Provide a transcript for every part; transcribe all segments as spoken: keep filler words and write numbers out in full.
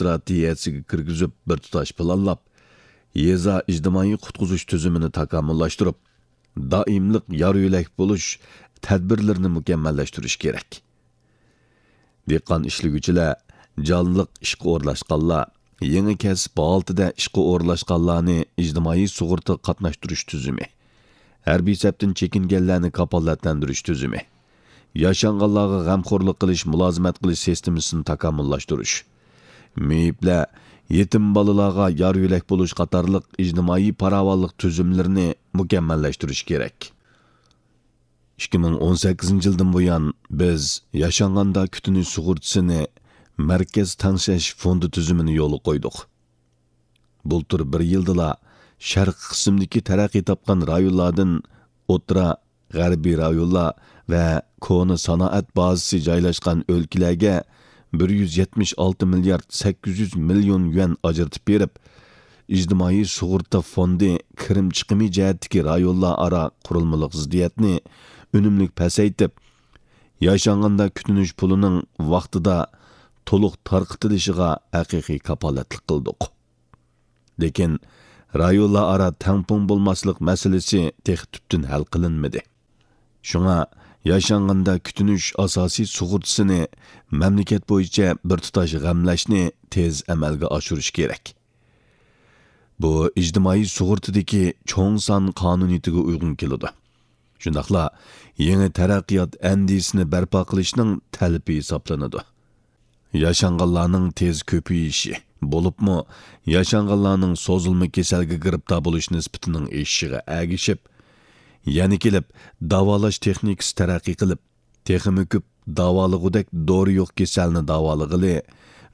ئىستراتېگىيەسىگە كىرگۈزۈپ، بىر تۇتاش پىلانلاپ، يېزا ئىجتىمائىي قۇتقۇزۇش تۈزۈمىنى تاكامۇللاشتۇرۇپ، دائىملىق يار يۆلەك بولۇش تەدبىرلىرىنى مۇكەممەللەشتۈرۈش كېرەك. دېھقان ئىشلىگۈچىلەر، جانلىق ئىشقا ئورۇنلاشقانلار، يېڭى كەسىپ ھالىتىدە ئىشقا ئورۇنلاشقانلارنى ئىجتىمائىي سۇغۇرتا قاتناشتۇرۇش تۈزۈمى، ھەربىي سەپتىن چېكىنگەنلەرنى كاپالەتلەندۈرۈش تۈزۈمى، ياشانغانلارغا غەمخورلۇق قىلىش، مۇلازىمەت قىلىش سىستېمىسىنى تاكامۇللاشتۇرۇش، مېيىپلەر، يېتىم بالىلارغا يار يۆلەك بولۇش قاتارلىق ئىجتىمائىي پاراۋانلىق تۈزۈملىرىنى مۇكەممەللەشتۈرۈش كېرەك. ئىككى مىڭ ئون سەككىزىنچى يىلدىن بۇيان، بىز ياشانغاندا كۈتۈنۈش سۇغۇرتىسىنى مەركەز تەڭشەش فوندى تۈزۈمىنى يولغا قويدۇق. بۇلتۇر بىر يىلدىلا شەرقىي قىسىمدىكى تەرەققىي تاپقان رايونلاردىن ئوتتۇرا، غەربىي رايونلار ۋە كونا سانائەت بازىسى جايلاشقان ئۆلكىلەرگە بىر يۈز يەتمىش ئالتە مىليارد سەككىز يۈز مىليون يۈەن ئاجرىتىپ بېرىپ، ئىجتىمائىي سۇغۇرتا فوندى كىرىم چىقىمى جەھەتتىكى رايونلار ئارا قۇرۇلمىلىق زىددىيەتنى ئۈنۈملۈك پەسەيتىپ، ياشانغاندا كۈتۈنۈش پۇلىنىڭ ۋاقتىدا تولۇق تارقىتىلىشىغا ھەقىقىي كاپالەتلىك قىلدۇق. لېكىن رايونلار ئارا تەڭپۇڭ بولماسلىق مەسىلىسى تېخى تۈپتىن ھەل قىلىنمىدى. شۇڭا ياشانغاندا كۈتۈنۈش ئاساسىي سۇغۇرتىسىنى مەملىكەت بويىچە بىر تۇتاش غەملەشنى تېز ئەمەلگە ئاشۇرۇش كېرەك. بۇ ئىجتىمائىي سۇغۇرتىدىكى چوڭ سان قانۇنىيىتىگە ئۇيغۇن كېلىدۇ. شۇنداقلا يېڭى تەرەققىيات ئەندىزىسىنى بەرپا قىلىشنىڭ تەلىپى ھېسابلىنىدۇ. ياشانغانلارنىڭ تېز كۆپىيىشى، بولۇپمۇ ياشانغانلارنىڭ سوزۇلما كېسەلگە گىرىپتار بولۇش نىسبىتىنىڭ ئېشىشىغا ئەگىشىپ، يەنە كېلىپ داۋالاش تېخنىكىسى تەرەققىي قىلىپ، تېخىمۇ كۆپ داۋالىغۇدەك دورا يوق كېسەلنى داۋالىغىلى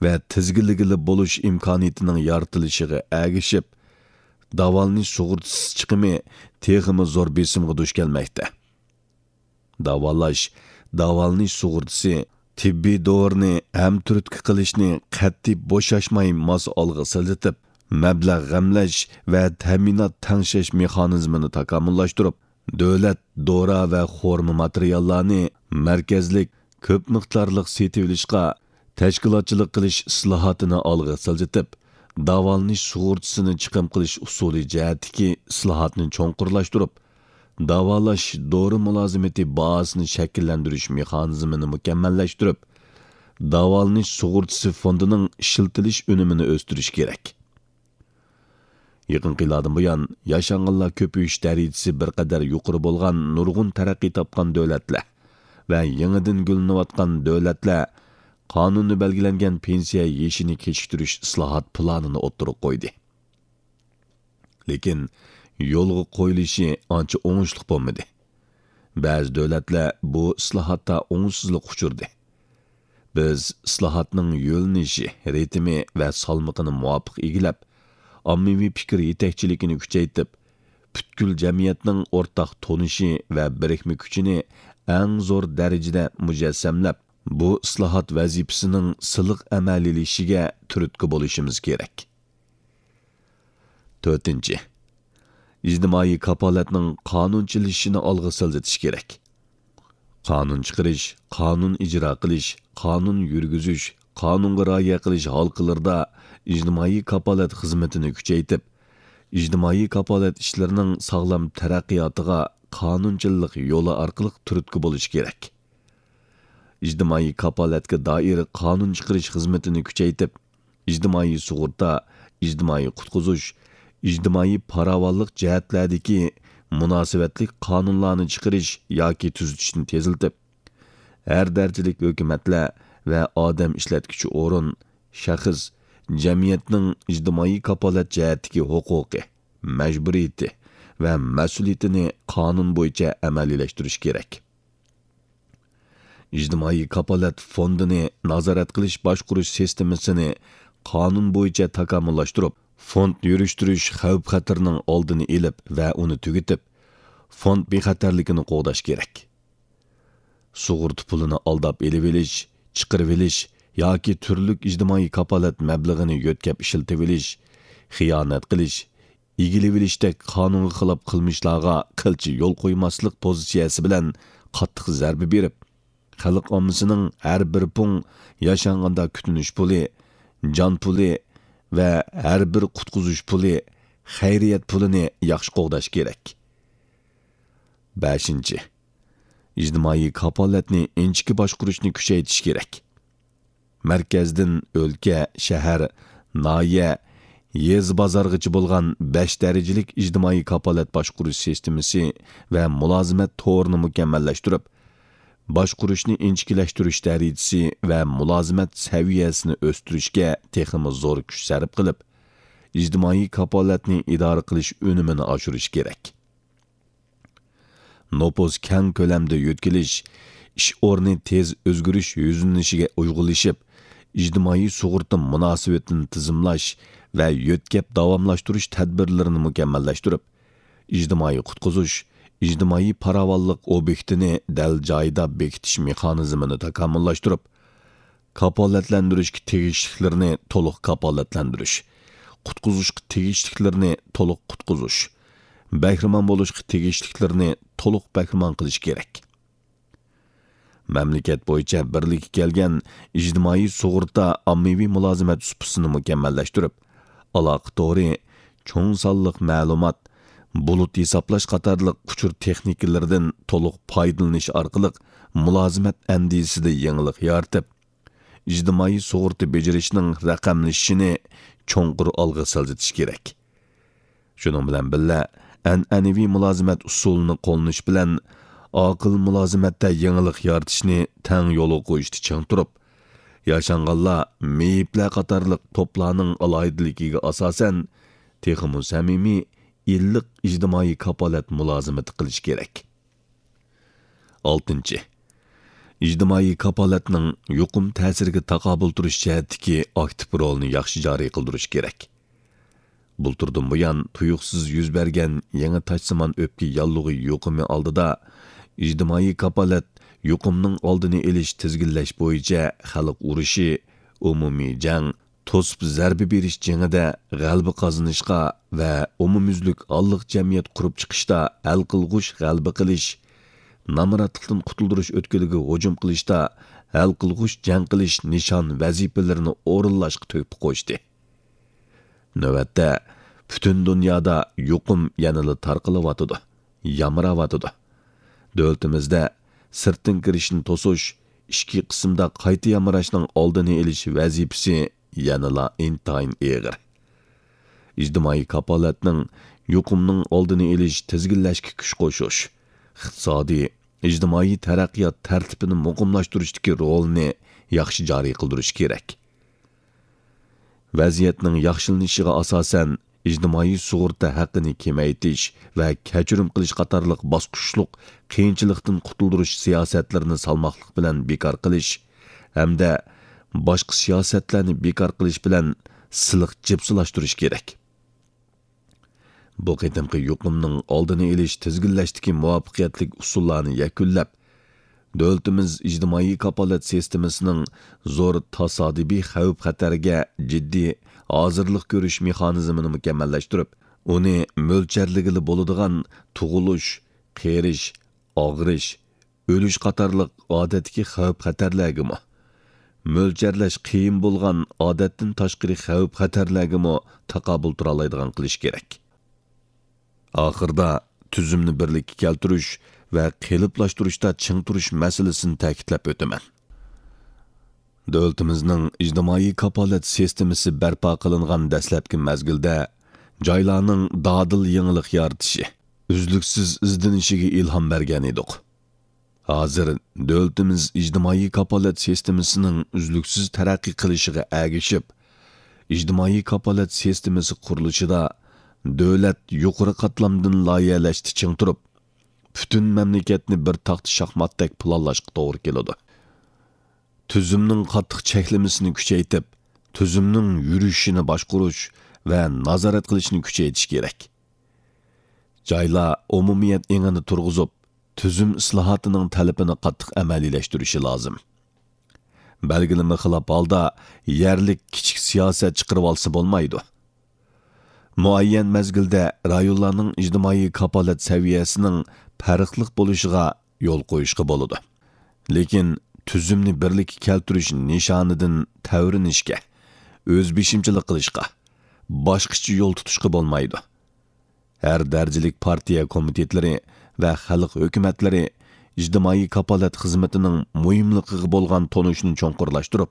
ۋە تىزگىنلىگىلى بولۇش ئىمكانىيىتىنىڭ يارىتىلىشىغا ئەگىشىپ، داۋالىنىش سۇغۇرتىسى چىقىمى تېخىمۇ زور بېسىمغا دۇچ كەلمەكتە. داۋالاش، داۋالىنىش سۇغۇرتىسى، تېببىي دورىنى ھەمتۈرتكە قىلىشنى قەتئىي بوشاشماي ماس ئالغا سىلجىتىپ، مەبلەغ غەملەش ۋە تەمىنات تەڭشەش مېخانىزمىنى تاكامۇللاشتۇرۇپ، دۆلەت دورا ۋە خورما ماتېرىياللارنى مەركەزلىك، كۆپ مىقدارلىق سېتىۋېلىشقا تەشكىلاتچىلىق قىلىش ئىسلاھاتىنى ئالغا سىلجىتىپ، داۋالىنىش سۇغۇرتىسىنى چىقىم قىلىش ئۇسۇلى جەھەتتىكى ئىسلاھاتنى چوڭقۇرلاشتۇرۇپ، داۋالاش دورا مۇلازىمىتى بازىسىنى شەكىللەندۈرۈش مېخانىزمىنى مۇكەممەللەشتۈرۈپ، داۋالىنىش سۇغۇرتىسى فوندىنىڭ ئىشلىتىلىش ئۈنۈمىنى ئۆستۈرۈش كېرەك. يېقىنقى يىللاردىن بۇيان، ياشانغانلار كۆپىيىش دەرىجىسى بىر قەدەر يۇقىرى بولغان نۇرغۇن تەرەققىي تاپقان دۆلەتلەر ۋە يېڭىدىن گۈللىنىۋاتقان دۆلەتلەر قانۇندا بەلگىلەنگەن پېنسىيە يېشىنى كېچىكتۈرۈش ئىسلاھات پىلانىنى ئوتتۇرىغا قويدى. لېكىن يولغا قويۇلۇشى ئانچە ئوڭۇشلۇق بولمىدى. بەزى دۆلەتلەر بۇ ئىسلاھاتتا ئوڭۇشسىزلىققا ئۇچرىدى. بىز ئىسلاھاتنىڭ يۆنىلىشى، رىتىمى ۋە سالمىقىنى مۇۋاپىق ئىگىلەپ، ئاممىۋى پىكىر يېتەكچىلىكىنى كۈچەيتىپ، پۈتكۈل جەمئىيەتنىڭ ئورتاق تونۇشى ۋە بىرىكمە كۈچىنى ئەڭ زور دەرىجىدە مۇجەسسەملەپ، بۇ ئىسلاھات ۋەزىپىسىنىڭ سىلىق ئەمەلىيلىشىشىگە تۈرتكە بولۇشىمىز كېرەك. تۆتىنچى، ئىجتىمائىي كاپالەتنىڭ قانۇنچىلىشىشىنى ئالغا سىلجىتىش كېرەك. قانۇن چىقىرىش، قانۇن ئىجرا قىلىش، قانۇن يۈرگۈزۈش، قانۇنغا رىئايە قىلىش ھالقىلىرىدا ئىجتىمائىي كاپالەت خىزمىتىنى كۈچەيتىپ، ئىجتىمائىي كاپالەت ئىشلىرىنىڭ ساغلام تەرەققىياتىغا قانۇنچىلىق يولى ئارقىلىق تۈرتكە بولۇش كېرەك. ئىجتىمائىي كاپالەتكە دائىر قانۇن چىقىرىش خىزمىتىنى كۈچەيتىپ، ئىجتىمائىي سۇغۇرتا، ئىجتىمائىي قۇتقۇزۇش، ئىجتىمائىي پاراۋانلىق جەھەتلەردىكى مۇناسىۋەتلىك قانۇنلارنى چىقىرىش ياكى تۈزىتىشنى تېزلىتىپ، ھەر دەرىجىلىك ھۆكۈمەتلەر ۋە ئادەم ئىشلەتكۈچى ئورۇن، شەخس، جەمئىيەتنىڭ ئىجتىمائىي كاپالەت جەھەتتىكى ھوقۇقى، مەجبۇرىيىتى ۋە مەسئۇلىيىتىنى قانۇن بويىچە ئەمەلىيلەشتۈرۈش كېرەك. ئىجتىمائىي كاپالەت فوندىنى نازارەت قىلىش باشقۇرۇش سىستېمىسىنى قانۇن بويىچە تاكامۇللاشتۇرۇپ، فوند يۈرۈشتۈرۈش خەۋپ-خەتىرىنىڭ ئالدىنى ئېلىپ ۋە ئۇنى تۈگىتىپ، فوند بىخەتەرلىكىنى قوغداش كېرەك. سۇغۇرتا پۇلىنى ئالداپ ئېلىۋېلىش، چىقىرىۋېلىش ياكى تۈرلۈك ئىجتىمائىي كاپالەت مەبلىغىنى يۆتكەپ ئىشلىتىۋېلىش، خىيانەت قىلىش، ئىگىلىۋېلىشتەك قانۇنغا خىلاپ قىلمىشلارغا قىلچە يول قويماسلىق پوزىتسىيەسى بىلەن قاتتىق زەربە بېرىپ، خەلق ئاممىسىنىڭ ھەر بىر پۇڭ ياشانغاندا كۈتۈنۈش پۇلى، جان پۇلى ۋە ھەر بىر قۇتقۇزۇش پۇلى، خەيرىيەت پۇلىنى ياخشى قوغداش كېرەك. بەشىنچى، ئىجتىمائىي كاپالەتنى ئىنچىكە باشقۇرۇشنى كۈچەيتىش كېرەك. مەركەزدىن ئۆلكە، شەھەر، ناھىيە، يېزا، بازارغىچە بولغان بەش دەرىجىلىك ئىجتىمائىي كاپالەت باشقۇرۇش سىستېمىسى ۋە مۇلازىمەت تورىنى مۇكەممەللەشتۈرۈپ، باشقۇرۇشنى ئىنچىكىلەشتۈرۈش دەرىجىسى ۋە مۇلازىمەت سەۋىيەسىنى ئۆستۈرۈشكە تېخىمۇ زور كۈچ سەرپ قىلىپ، ئىجتىمائىي كاپالەتنى ئىدارە قىلىش ئۈنۈمىنى ئاشۇرۇش كېرەك. نوپۇس كەڭ كۆلەمدە يۆتكىلىش، ئىش ئورنى تېز ئۆزگىرىش يۈزلىنىشىگە ئۇيغۇنلىشىپ، ئىجتىمائىي سۇغۇرتا مۇناسىۋىتىنى تىزىملاش ۋە يۆتكەپ داۋاملاشتۇرۇش تەدبىرلىرىنى مۇكەممەللەشتۈرۈپ، ئىجتىمائىي قۇتقۇزۇش، ئىجتىمائىي پاراۋانلىق ئوبيېكتىنى دەل جايىدا بېكىتىش مېخانىزمىنى تاكامۇللاشتۇرۇپ، كاپالەتلەندۈرۈشكە تېگىشلىكلىرىنى تولۇق كاپالەتلەندۈرۈش، قۇتقۇزۇشقا تېگىشلىكلىرىنى تولۇق قۇتقۇزۇش، بەھرىمەن بولۇشقا تېگىشلىكلىرىنى تولۇق بەھرىمەن قىلىش كېرەك. مەملىكەت بويىچە بىرلىككە كەلگەن ئىجتىمائىي سۇغۇرتا ئاممىۋى مۇلازىمەت سۇپىسىنى مۇكەممەللەشتۈرۈپ، ئالاقە تورى، چوڭ سانلىق مەلۇمات، بۇلۇت ھېسابلاش قاتارلىق ئۇچۇر تېخنىكىلىرىدىن تولۇق پايدىلىنىش ئارقىلىق مۇلازىمەت ئەندىزىسىدە يېڭىلىق يارىتىپ، ئىجتىمائىي سۇغۇرتا بېجىرىشنىڭ رەقەملىشىشىنى چوڭقۇر ئالغا سىلجىتىش كېرەك. شۇنىڭ بىلەن بىللە، ئەنئەنىۋى مۇلازىمەت ئۇسۇلىنى قوللىنىش بىلەن ئاقىل مۇلازىمەتتە يېڭىلىق يارىتىشنى تەڭ يولغا قويۇشتا چىڭ تۇرۇپ، ياشانغانلار، مېيىپلەر قاتارلىق توپلارنىڭ ئالاھىدىلىكىگە ئاساسەن، تېخىمۇ سەمىمىي، ئىللىق ئىجتىمائىي كاپالەت مۇلازىمىتى قىلىش كېرەك. ئالتىنچى، ئىجتىمائىي كاپالەتنىڭ يۇقۇم تەسىرىگە تاقابىل تۇرۇش جەھەتتىكى ئاكتىپ رولىنى ياخشى جارى قىلدۇرۇش كېرەك. بۇلتۇردىن بۇيان تۇيۇقسىز يۈز بەرگەن يېڭى تاجسىمان ئۆپكە ياللۇغى يۇقۇمى ئالدىدا، ئىجتىمائىي كاپالەت يۇقۇمنىڭ ئالدىنى ئېلىش، تىزگىنلەش بويىچە خەلق ئۇرۇشى، ئومۇمىي جەڭ، توسۇپ زەربە بېرىش جېڭىدە غەلىبە قازىنىشقا ۋە ئومۇميۈزلۈك ھاللىق جەمئىيەت قۇرۇپ چىقىشتا ھەل قىلغۇچ غەلىبە قىلىش، نامراتلىقتىن قۇتۇلدۇرۇش ئۆتكىلىگە ھۇجۇم قىلىشتا ھەل قىلغۇچ جەڭ قىلىش نىشان ۋەزىپىلىرىنى ئورۇنلاشقا تۆھپە قوشتى. نۆۋەتتە، پۈتۈن دۇنيادا يۇقۇم يەنىلا تارقىلىۋاتىدۇ، يامراۋاتىدۇ. دۆلىتىمىزدە سىرتتىن كىرىشنى توسۇش، ئىچكى قىسىمدا قايتا يامراشنىڭ ئالدىنى ئېلىش ۋەزىپىسى يەنىلا ئىنتايىن ئېغىر. ئىجتىمائىي كاپالەتنىڭ يۇقۇمنىڭ ئالدىنى ئېلىش، تىزگىنلەشكە كۈچ قوشۇش، ئىقتىسادىي، ئىجتىمائىي تەرەققىيات تەرتىپىنى مۇقىملاشتۇرۇشتىكى رولىنى ياخشى جارى قىلدۇرۇش كېرەك. ۋەزىيەتنىڭ ياخشىلىنىشىغا ئاساسەن، ئىجتىمائىي سۇغۇرتا ھەققىنى كېمەيتىش ۋە كەچۈرۈم قىلىش قاتارلىق باسقۇچلۇق قىيىنچىلىقتىن قۇتۇلدۇرۇش سىياسەتلىرىنى سالماقلىق بىلەن بىكار قىلىش ھەمدە باشقا سىياسەتلەرنى بىكار قىلىش بىلەن سىلىق جىپسىلاشتۇرۇش كېرەك. بۇ قېتىمقى يۇقۇمنىڭ ئالدىنى ئېلىش، تىزگىنلەشتىكى مۇۋەپپەقىيەتلىك ئۇسۇللارنى يەكۈنلەپ، دۆلىتىمىز ئىجتىمائىي كاپالەت سىستېمىسىنىڭ زور تاسادىپىي خەۋپ-خەتەرگە جىددىي ھازىرلىق كۆرۈش مېخانىزمىنى مۇكەممەللەشتۈرۈپ، ئۇنى مۆلچەرلىگىلى بولىدىغان تۇغۇلۇش، قېرىش، ئاغرىش، ئۆلۈش قاتارلىق ئادەتتىكى خەۋپ-خەتەرلەرگىمۇ، مۆلچەرلەش قىيىن بولغان ئادەتتىن تاشقىرى خەۋپ-خەتەرلەرگىمۇ تاقابىل تۇرالايدىغان قىلىش كېرەك. ئاخىرىدا، تۈزۈمنى بىرلىككە كەلتۈرۈش ۋە قېلىپلاشتۇرۇشتا چىڭ تۇرۇش مەسىلىسىنى تەكىتلەپ ئۆتىمەن. دۆلىتىمىزنىڭ ئىجتىمائىي كاپالەت سىستېمىسى بەرپا قىلىنغان دەسلەپكى مەزگىلدە، جايلارنىڭ دادىل يېڭىلىق يارىتىشى، ئۈزلۈكسىز ئىزدىنىشىگە ئىلھام بەرگەن ئىدۇق. ھازىر دۆلىتىمىز ئىجتىمائىي كاپالەت سىستېمىسىنىڭ ئۈزلۈكسىز تەرەققىي قىلىشىغا ئەگىشىپ، ئىجتىمائىي كاپالەت سىستېمىسى قۇرۇلۇشىدا دۆلەت يۇقىرى قاتلامدىن لايىھەلەشتە چىڭ تۇرۇپ، پۈتۈن مەملىكەتنى بىر تاختا شاھماتتەك پىلانلاشقا توغرا كېلىدۇ. تۈزۈمنىڭ قاتتىق چەكلىمىسىنى كۈچەيتىپ، تۈزۈمنىڭ يۈرۈشىنى باشقۇرۇش ۋە نازارەت قىلىشنى كۈچەيتىش كېرەك. جايلار ئومۇمىيەت ئېڭىنى تۇرغۇزۇپ، تۈزۈم ئىسلاھاتىنىڭ تەلىپىنى قاتتىق ئەمەلىيلەشتۈرۈشى لازىم. بەلگىلىمە خىلاپ ھالدا يەرلىك كىچىك سىياسەت چىقىرىۋالسا بولمايدۇ. مۇئەييەن مەزگىلدە رايونلارنىڭ ئىجتىمائىي كاپالەت سەۋىيەسىنىڭ پەرقلىق بولۇشىغا يول قويۇشقا بولىدۇ. لېكىن تۈزۈمنى بىرلىككە كەلتۈرۈش نىشانىدىن تەۋرىنىشكە، ئۆزبېشىمچىلىق قىلىشقا، باشقىچە يول تۇتۇشقا بولمايدۇ. ھەر دەرىجىلىك پارتىيە كومىتېتلىرى ۋە خەلق ھۆكۈمەتلىرى ئىجتىمائىي كاپالەت خىزمىتىنىڭ مۇھىملىقىغا بولغان تونۇشنى چوڭقۇرلاشتۇرۇپ،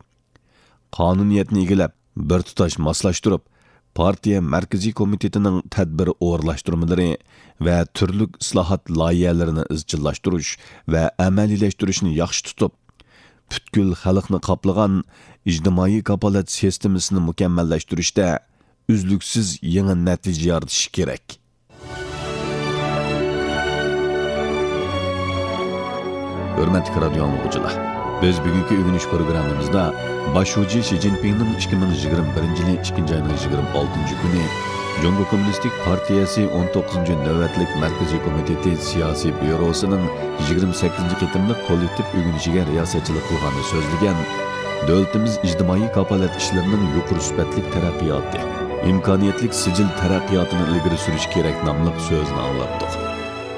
قانۇنىيەتنى ئىگىلەپ، بىر تۇتاش ماسلاشتۇرۇپ، پارتىيە مەركىزىي كومىتېتىنىڭ تەدبىر ئورۇنلاشتۇرمىلىرى ۋە تۈرلۈك ئىسلاھات لايىھەلىرىنى ئىزچىللاشتۇرۇش ۋە ئەمەلىيلەشتۈرۈشنى ياخشى تۇتۇپ، پۈتكۈل خەلقنى قاپلىغان ئىجتىمائىي كاپالەت سىستېمىسىنى مۇكەممەللەشتۈرۈشتە ئۈزلۈكسىز يېڭى نەتىجە يارىتىشى كېرەك. ھۆرمەتلىك رادىيو ئاڭلىغۇچىلار، بىز بۈگۈنكى ئۆگىنىش پروگراممىمىزدا باش شۇجى شى جىنپىڭنىڭ ئىككى مىڭ يىگىرمە بىرىنچى يىلى ئىككىنچى ئاينىڭ يىگىرمە ئالتىنچى كۈنى جۇڭگو كوممۇنىستىك پارتىيەسى ئون توققۇزىنچى نۆۋەتلىك مەركىزىي كومىتېتى سىياسىي بيۇروسىنىڭ يىگىرمە سەككىزىنچى قېتىملىق كوللېكتىپ ئۆگىنىشىگە رىياسەتچىلىك قىلغاندا سۆزلىگەن، دۆلىتىمىز ئىجتىمائىي كاپالەت ئىشلىرىنىڭ يۇقىرى سۈپەتلىك تەرەققىياتى، ئىمكانىيەتلىك سىجىل تەرەققىياتىنى ئىلگىرى سۈرۈش كېرەك ناملىق سۆزىنى ئاڭلاتتۇق.